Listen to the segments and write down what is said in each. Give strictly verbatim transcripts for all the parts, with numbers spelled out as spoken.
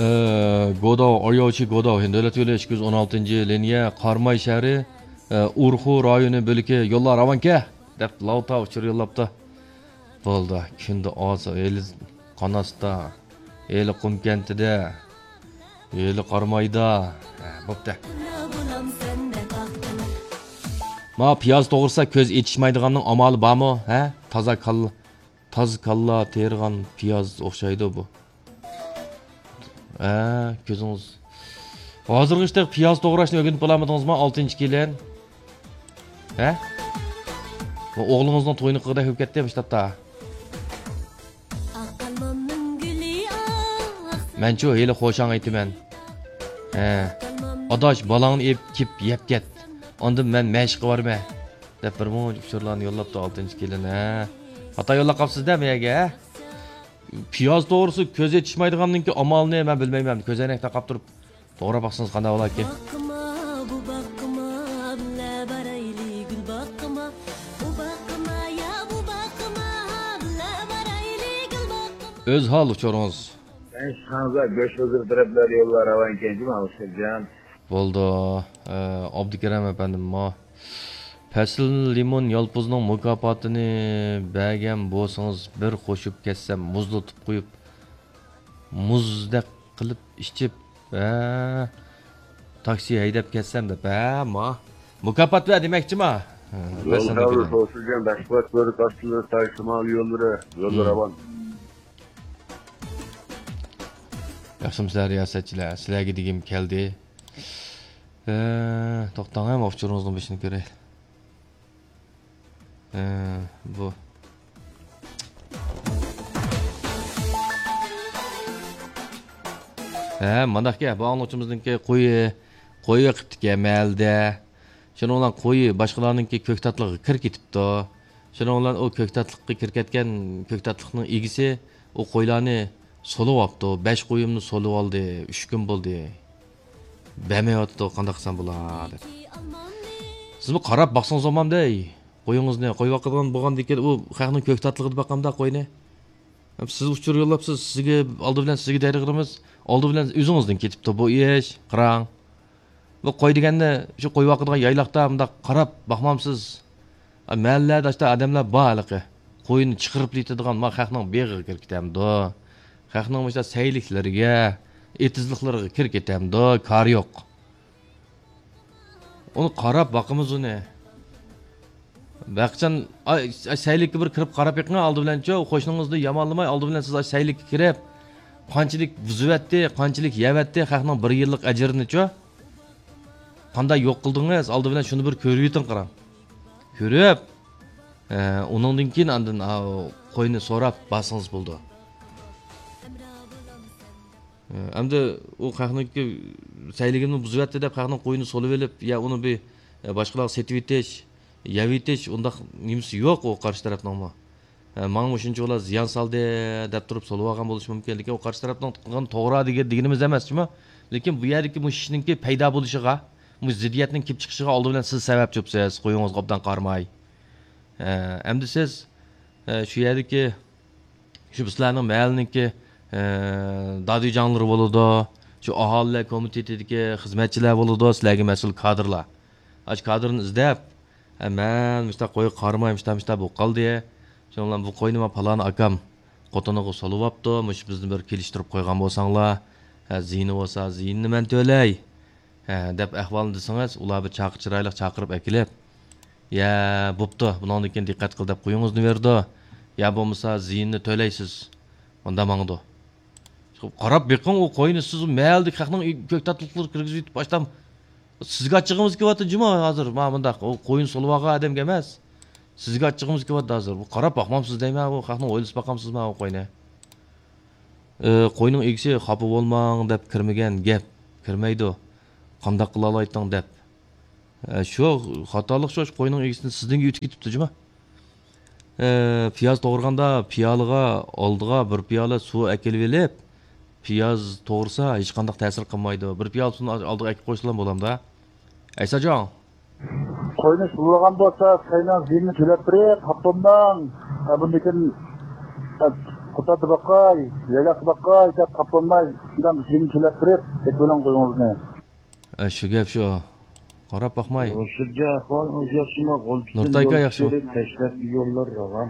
ئە، گوداۋ، ئاياۋچى گوداۋ، ھىند دۆلەت يولى ئىككى يۈز ئون ئالتىنچى لىنىيە، قاراماي شەھىرى، ئە، ئۇرخۇ رايونى بۆلىكى، يوللار راۋانكەن دەپ لاۋتا ئۇچۇر يوللاپتۇ. بولدى، كۈندە ئاز، ھېلى قاناستا، ھېلى قۇمكەنتىدە، ھېلى قارامايدا. ھە، بوپتۇ. ما پىياز توغرىسا كۆز ئېچىشمايدىغاننىڭ ئامالى بارمۇ؟ ھە؟ تازا كاللا، تازا كاللا تېرىغان پىياز ئوخشايدۇ بۇ. ھە، كۆزىڭىز. ھازىرغىچە پىياز توغراشنى ئۆگىنىپ بولالمىدىڭىزمۇ، ئالتىنچى كېلىن؟ ھە؟ بۇ ئوغلىڭىزنىڭ تويىنىڭ قىلغۇدەك بولۇپ كەتتى مۇشۇ تاپتا. مەنچۇ ھېلى خوشاڭ ئېيتىمەن. ھە. ئاداش، بالاڭنى ئېلىپ كېلىپ يەپ كەت. ئاندىن مەن مەشىققە بارىمەن. دەپ بىر مۇنچە ئۇچۇرلارنى يوللاپتۇ ئالتىنچى كېلىن، ھە. خاتا يوللاپ قاپسىز-دە مەيەگە، ھە؟ پىياز توغرىسى كۆز ئېچىشمايدىغاننىڭكى ئامالىنى مەن بىلمەيمەن. كۆزەينەك تاقاپ تۇرۇپ توغراپ باقسىڭىز قانداق بولاركىن؟ باققىما، بۇ باققىما، بىللە بارايلى گۈل باققىما. ئۇ باققىما، يا بۇ باققىما، بىللە بارايلى گۈل باققىما. ئۆز ھال ئۇچۇرىڭىز. بەش خانزا گۆش ھۇزۇر تەرەپلەر يوللار راۋانكەن جۇما ئۇستازجان. بولدى. ئە، ئابدۇكېرەم ئەپەندىم، ما پەسىل لىمون يالپۇزنىڭ مۇكاپاتىنى بەرگەن بولسىڭىز، بىر قوشۇپ كەتسەم، مۇزلىتىپ قويۇپ، مۇزدەك قىلىپ ئىچىپ، ھە، تاكسى ھەيدەپ كەتسەم دەپ، ھە، ما مۇكاپات بەر دېمەكچىما؟ ھە، يول پەسىل خەۋىرى كېلىڭ. توسۇلغان بەشبات بۆرۈك ئاستىلىرى تاي شىمال يوللىرى، يوللار راۋان. ياخشىمۇسىلەر رىياسەتچىلەر؟ سىلەرگە دېگۈم كەلدى. ئە، توختاڭ، ھەم ئۇچۇرىڭىزنىڭ بېشىنى كۆرەيلى. ئە، بۇ. ھە، مانداقكەن، بۇ ئاڭلىغۇچىمىزنىڭكى قويى، قويى قىپتىكەن مەھەللىدە. شۇنىڭ بىلەن قويى باشقىلارنىڭكى كۆكتاتلىقىغا كىرىپ كېتىپتۇ. شۇنىڭ بىلەن ئۇ كۆكتاتلىققا كىرىپ كەتكەن كۆكتاتلىقنىڭ ئىگىسى ئۇ قويلارنى سولىۋاپتۇ. بەش قويۇمنى سولىۋالدى. ئۈچ كۈن بولدى. بەرمەيۋاتىدۇ، قانداق قىلسام بولا دەپ. سىزمۇ قاراپ باقسىڭىز بولمامدۇ، ئەي؟ قويىڭىزنى قويۇۋاتقان بولغاندىكىن ئۇ خەقنىڭ كۆكتاتلىقىدا باقامدا قوينى. سىز ئۇچۇر يوللاپسىز، سىزگە ئالدى بىلەن سىزگە دەيدىغىنىمىز، ئالدى بىلەن ئۆزىڭىزدىن كېتىپتۇ بۇ ئىش، قاراڭ. بۇ قوي دېگەننى شۇ قويۇۋاتىدىغان يايلاقتا مۇنداق قاراپ باقمامسىز؟ ئا، مەھەللىلەردە ئاشتا ئادەملەر بار ھېلىقى. قوينى چىقىرىپ يېتىدىغان، ما خەقنىڭ بېغىغا كىرىپ كېتەمدۇ؟ خەقنىڭ مۇشۇنداق سەيلىكلىرىگە، ئېتىزلىقلىرىغا كىرىپ كېتەمدۇ؟ كارى يوق. ئۇنى قاراپ باقىمىز ئۇنى. بەخچەن، ئاي، ئاي، سەيلىككە بىر كىرىپ قاراپ بېقىڭ ئالدى بىلەنچۇ، قوشنىڭىزنى يامانلىماي، ئالدى بىلەن سىز ئاي سەيلىككە كىرىپ، قانچىلىك بۇزۇۋەتتى، قانچىلىك يەۋەتتى، خەقنىڭ بىر يىللىق ئەجرىنىچۇ. قانداق يوق قىلدىڭىز؟ ئالدى بىلەن شۇنى بىر كۆرۈۋېتىڭ، قاراڭ. كۆرۈپ، ئە، ئۇنىڭدىن كېيىن ئاندىن، ئاۋۇ، قوينى سوراپ بارسىڭىز بولىدۇ. ئە، ئەمدى ئۇ خەقنىڭكى سەيلىكىنى بۇزۇۋەتتى دەپ، خەقنىڭ قويىنى سولىۋېلىپ، يا ئۇنى بىر، ئە، باشقىلارغا سېتىۋېتىش، يەۋېتىش، ئۇنداق نېمىسى يوق ئۇ قارشى تەرەپنىڭمۇ. ئە، ماڭا مۇشۇنچىۋالا زىيان سالدى دەپ تۇرۇپ سولىۋالغان بولۇشى مۇمكىن. لېكىن ئۇ قارشى تەرەپنىڭ قىلغىنى توغرا دېگەن، دېگىنىمىز ئەمەس جۇمۇ. لېكىن بۇ يەردىكى مۇشۇ ئىشنىڭكى پەيدا بولۇشىغا، مۇشۇ زىددىيەتنىڭ كېلىپ چىقىشىغا ئالدى بىلەن سىز سەۋەبچۇسىز، قويىڭىزغا ئوبدان قارىماي. ئە، ئەمدى سىز، ئە، شۇ يەردىكى شۇ سىلەرنىڭ مەھەللىنىڭكى، ئە، دادۈيجاڭلىرى بولىدۇ، شۇ ئاھالىلەر كومىتېتىدىكى خىزمەتچىلەر بولىدۇ، سىلەرگە مەسئۇل كادىرلار. ئاشۇ كادىرنى ئىزدەپ، ئە، مەن مۇشۇنداق قويغا قارىماي، مۇشۇنداق، مۇشۇنداق بولۇپ قالدى. شۇنىڭ بىلەن بۇ قوينى مانا پالان ئاكام خوتۇنىغا سولىۋاپتۇ، مۇشۇ بىزنى بىر كېلىشتۈرۈپ قويغان بولساڭلار، ئە، زىيىنى بولسا زىيىنىنى مەن تۆلەي. ھە، دەپ ئەھۋالنى دېسىڭىز، ئۇلار بىر چاقى چىرايلىق چاقىرىپ ئەكېلىپ، يا، بوپتۇ، بۇنىڭدىن كېيىن دىققەت قىل دەپ قويۇڭىزنى بېرىدۇ. يا بولمىسا زىيىننى تۆلەيسىز. مۇندا ماڭىدۇ. قاراپ بېقىڭ، ئۇ قوينى سىز مەھەللىدىكى خەقنىڭ كۆكتاتلىقلىرىغا كىرگۈزۈۋېتىپ، باشتام سىزگە ئاچچىقىمىز كېلىۋاتىدۇ جۇمۇ ھازىر. مانا مۇنداق، ئۇ قوينى سولىۋالغان ئادەمگە ئەمەس. سىزگە ئاچچىقىمىز كېلىۋاتىدۇ ھازىر. بۇ قاراپ باقمامسىز دەيمەن، بۇ خەقنىڭ ھويلىسىغا باقامسىزما ئۇ قوينى؟ ئى، قوينىڭ ئىگىسى خاپا بولماڭ دەپ كىرمىگەن گەپ، كىرمەيدۇ. قانداق قىلالايتتىڭ دەپ. ئە، شۇ خاتالىق شۇ، شۇ قوينىڭ ئىگىسىنى سىزدىن ئۆتۈپ كېتىپتۇ جۇما. ئە، پىياز توغرىغاندا پىيالىغا ئالدىغا بىر پىيالە سۇ ئەكېلىۋېلىپ، پىياز توغرىسا ھېچقانداق تەسىر قىلمايدۇ. بىر پىيالە سۇنى ئالدىغا ئەكىپ قويسىلا بولامدا. ئەيساجان. قوينى سولىغان بولسا، سەينىڭ زىيىنىنى تۆلەپ بېرىڭ، خاپا بولماڭ. ھە، بۇندىن كېيىن، ھە، قۇتادى باقاي، يايلاقتا باقاي دەپ قاپالماي، شۇنداق بىرنى تىلەپ بېرىپ، ئېتىۋېلىڭ قويىڭىزنى. ئە، شۇ گەپ شۇ. قاراپ باقماي. شۇجا ئەھۋالىڭىز ياخشىمۇ؟ غۇلجىدىن نۇرتاي ئاكا يول ياخشىمۇ؟ چۈشۈرۈپ، تەشلەپكە يوللار راۋان.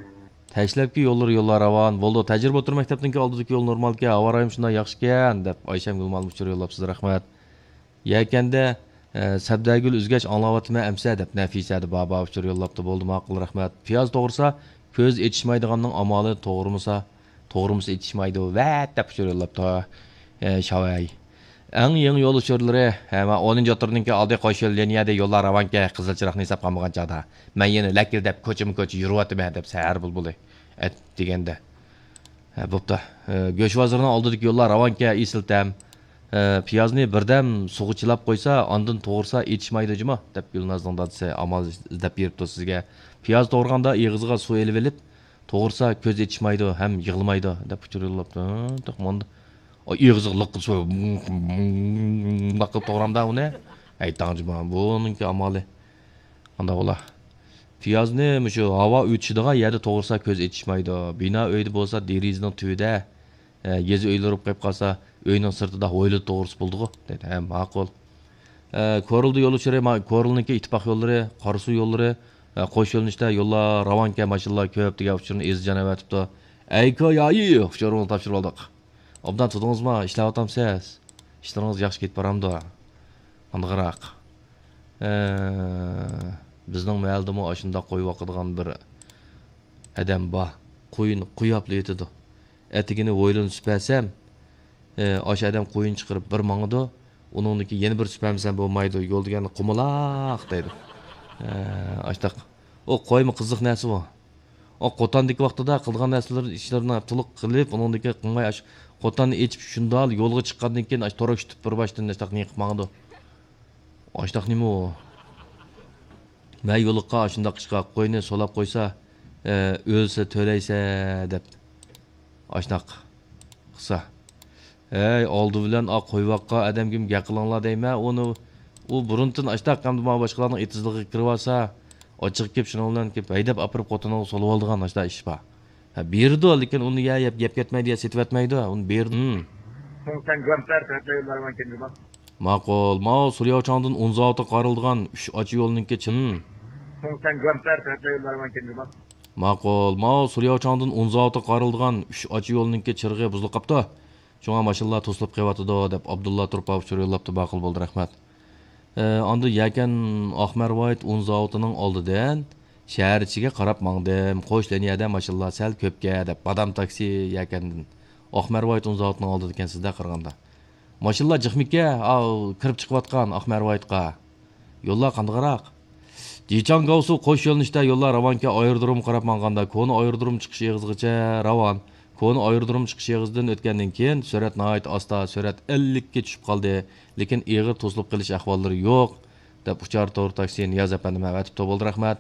تەشلەپكە يوللار، يوللار راۋان. بولدى، تەجرىبە ئوتتۇرا مەكتەپنىڭكى ئالدىدىكى يول نورمالكەن، ھاۋا رايىمۇ شۇنداق ياخشىكەن، دەپ ئايشەم گۈلمالىم ئۇچۇر يوللاپسىز، رەھمەت. يەكەندە، ئە، سەبدەگۈل ئۈزگەچ ئاڭلاۋاتىمەن ئەمسە، دەپ نەفىسە دە بابا ئۇچۇر يوللاپتۇ. بولدى، ماقۇل، رەھمەت. پىياز توغرىسا، كۆز ئېچىشمايدىغاننىڭ ئامالى توغرىمىسا، توغرىمىسا ئېچىشمايدۇ، ۋەت، دەپ ئۇچۇر يوللاپتۇ. ئە، شاۋەي. ئەڭ يېڭى يول ئۇچۇرلىرى، ھە، مانا ئونىنچى ئوتتۇرىنىڭكى ئالدى قوش يول لىنىيەدە يوللار راۋانكەن، قىزىل چىراغنى ھېساب قىلمىغان چاغدا. مەن يەنە لەكىلدەپ كوچىمۇ كوچا يۈرۈۋاتىمەن، دەپ سەھەر بۇلبۇلى ئەت دېگەندە. ھە، بوپتۇ. ئە، گۆش بازىرىنىڭ ئالدىدىكى يوللار راۋانكەن، ئېسىل تەم. ئە، پىيازنى بىردەم سۇغا چىلاپ قويسا، ئاندىن توغرىسا ئېچىشمايدۇ جۇمۇ، دەپ گۈلنازنىڭ دادىسى ئامال ئىزدەپ بېرىپتۇ سىزگە. پىياز توغرىغاندا ئېغىزىغا سۇ ئېلىۋېلىپ، توغرىسا كۆز ئېچىشمايدۇ ھەم يىغلىمايدۇ، دەپ ئۇچۇر يوللاپتۇ. ھە، تېخى ماندا. ئاي، ئېغىزىغا لىققىدە سۇ، لىققىدە توغرامدا ئۇنى. ئەي، تاڭجىما، بۇنىڭكى ئامالى. قانداق بولا؟ پىيازنى مۇشۇ ھاۋا ئۆتۈشىدىغان يەردە توغرىسا كۆز ئېچىشمايدۇ. بىنا ئۆيدە بولسا دېرىزىنىڭ تۈۋىدە، ئە، يېزا ئۆيلىرى بولۇپ قېلىپ قالسا، ئۆينىڭ سىرتىدا ھويلىدا توغرىسا بولىدىغۇ، دەيدۇ. ھە، ماقۇل. ئە، كورلىدا يول ئۇچۇرى، ما-، كورلىنىڭكى ئىتتىپاق يوللىرى، قاراسۇ يوللىرى، ئە، قوش يۆنىلىشتە يوللار راۋانكەن، ماشىنىلار كۆپ دېگەن ئۇچۇرنى ئېزىجان ئەۋەتىپتۇ. ئەيكايايى ئۇچۇرىڭىزنى تاپشۇرۇۋالدۇق. ئوبدان تۇردىڭىزمۇ؟ ئىشلەۋاتامسىز؟ ئىشلىرىڭىز ياخشى كېتىپ بارامدۇ؟ قانداقراق؟ ئە، بىزنىڭ مەھەللىدىمۇ ئاشۇنداق قوي باقىدىغان بىر ئادەم بار. قويىنى قويۇپلا يېتىدۇ. ئەتىگىنى ھويلىنى سۈپەرسەم، ئاشۇ ئادەم قويۇن چىقىرىپ بىر ماڭىدۇ، ئۇنىڭدىن كېيىن يەنە بىر سۈپەرمىسەم بولمايدۇ، يول دېگەندە قۇمىلاق دەيدۇ. ئاشتاق. ئۇ قويمۇ قىزىق نەرسە بۇ. ئۇ قوتاندىكى ۋاقتىدا قىلىدىغان نەرسىلىرى، ئىشلىرىنى تولۇق قىلىپ، ئۇنىڭدىن كېيىن قىلماي، ئاشۇ قوتاننى ئېچىپ شۇنداق يولغا چىققاندىن كېيىن، ئاشۇ تورۇك تۇتۇپ بىر باشتىن ئاشتاق نېمە قىلىپ ماڭىدۇ. ئاشتاق نېمە ئۇ؟ مەن يولۇققا ئاشۇنداق ئىشقا قوينى سولاپ قويسا، ئە، ئۆلسە تۆلەيسە دەپ. ئاشۇنداق قىلسا. ھەي، ئالدى بىلەن ئا قويۋاققا ئادەمگىمۇ گەپ قىلىڭلار دەيمەن. ئۇنى، ئۇ بۇرۇنتىن ئاشتاق ئەمدى مانا باشقىلارنىڭ ئېتىزلىقىغا كىرىۋالسا، ئاچچىقى كېلىپ شۇنىڭ بىلەن كېلىپ ھەيدەپ ئاپىرىپ خوتۇنىغا سولىۋالىدىغان ئاشتاق ئىش بار. ھە، بېرىدۇ، لېكىن ئۇنى يا يەپ، يەپ كەتمەيدۇ، يا سېتىۋەتمەيدۇ، ئۇنى بېرىدۇ. ھىم. ماقۇل، ماۋۇ سۇلياۋچاڭدىن ئۇن زاۋۇتىغا قارىلىدىغان ئۈچ ئاچا يولنىڭكى چىن. ماقۇل، ماۋۇ سۇلياۋچاڭدىن ئۇن زاۋۇتىغا قارىلىدىغان ئۈچ ئاچا يولنىڭكى چىرىغى بۇزۇلۇپ قاپتۇ. شۇڭا ماشىنىلار توسۇلۇپ قېلىۋاتىدۇ، دەپ ئابدۇللا تۇرپان ئۇچۇر يوللاپتۇ، ماقۇل بولدى، رەھمەت. ئە، ئاندىن يەكەن ئاقمەرۋايىت ئۇن زاۋۇتىنىڭ ئالدىدىن شەھەر ئىچىگە قاراپ ماڭدىم. قوش لىنىيەدە ماشىنىلار سەل كۆپكەن، دەپ بادام تاكسى يەكەندىن. ئاقمەرۋايىت ئۇن زاۋۇتىنىڭ ئالدىدا ئىكەنسىز-دە قارىغاندا. ماشىنىلار جىقمىكەن، ئاۋۇ كىرىپ چىقىۋاتقان ئاقمەرۋايىتقا. يوللار قانداقراق؟ جىچاڭگاۋسۇ قوش يۆنىلىشتە يوللار راۋانكەن، ئايرودرومغا قاراپ ماڭغاندا كونا ئايرودروم چىقىش ئېغىزىغىچە راۋان. كونا ئايرودروم چىقىش ئېغىزىدىن ئۆتكەندىن كېيىن سۈرئەت ناھايىتى ئاستا، سۈرئەت ئەللىككە چۈشۈپ قالدى. لېكىن ئېغىر توسۇلۇپ قېلىش ئەھۋاللىرى يوق، دەپ ئۇچار تور تاكسى نىياز ئەپەندىمۇ ئەۋەتىپتۇ، بولدى، رەھمەت.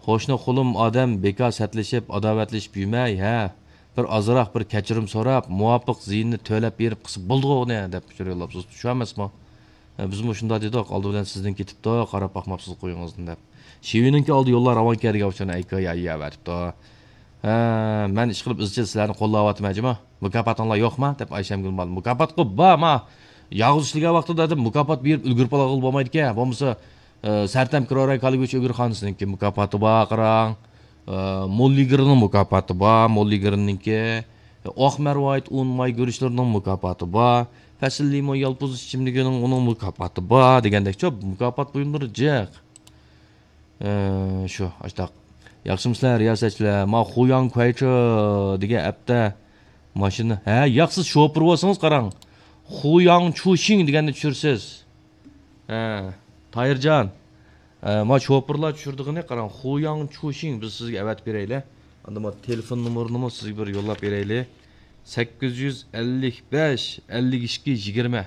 قوشنا قولۇم ئادەم بىكار سەتلىشىپ، ئاداۋەتلىشىپ يۈرمەي، ھە، بىر ئازراق بىر كەچۈرۈم سوراپ، مۇۋاپىق زىيىنىنى تۆلەپ بېرىپ قىلسا بولىدىغۇ ئۇنى، دەپ ئۇچۇر يوللاپسىز. شۇ ئەمەسمۇ؟ ھە، بىزمۇ شۇنداق دېدۇق، ئالدى بىلەن سىزدىن كېتىپتۇ، قاراپ باقماپسىز قويىڭىزنى دەپ. شىۋىنىڭكى ئالدى يوللار راۋانكەن دېگەن ئۇچۇرنى ئەيكايايى ئەۋەتىپتۇ. ھە، مەن ئىشقىلىپ ئىزچىل سىلەرنى قوللاۋاتىمەن جۇمۇ. مۇكاپاتىڭلار يوقما؟ دەپ ئايشەمگۈل مانا. مۇكاپاتقۇ بار، ما يالغۇز ئىشلىگەن ۋاقتىدا دەپ مۇكاپات بېرىپ ئۈلگۈرۈپ ئالغىلى بولمايدىكەن. بولمىسا، ئە، سەرتەم كىرورەي كالىگۈچ ئۆگۈرخانىسىنىڭكى مۇكاپاتى بار، قاراڭ. ئە، موللىگىرنىڭ مۇكاپاتى بار، موللىگىرنىڭكى. ئاق مەرۋايىت ئۇن ماي گۈرۈچلىرىنىڭ مۇكاپاتى بار. پەسىل لىمون يالپۇز ئىچىملىكىنىڭ ئۇنىڭ مۇكاپاتى بار دېگەندەكچۇ، مۇكاپات بۇيۇملىرى جىق. ئە، شۇ، ئاشتاق. ياخشىمۇسىلەر، رىياسەتچىلەر؟ ما خۇياڭ كۇەيچې دېگەن ئەپتە ماشىنا. ھە، ياق، سىز شوپۇر بولسىڭىز قاراڭ. خۇياڭ چۇشىڭ دېگەننى چۈشۈرىسىز. ھە، تاھىرجان. ئە، ما شوپۇرلار چۈشۈرىدىغىنى قاراڭ. خۇياڭ چۇشىڭ بىز سىزگە ئەۋەتىپ بېرەيلى. ئاندىن ما تېلېفون نومۇرىنىمۇ سىزگە بىر يوللاپ بېرەيلى. سەككىز يۈز ئەللىك بەش، ئەللىك ئىككى، يىگىرمە.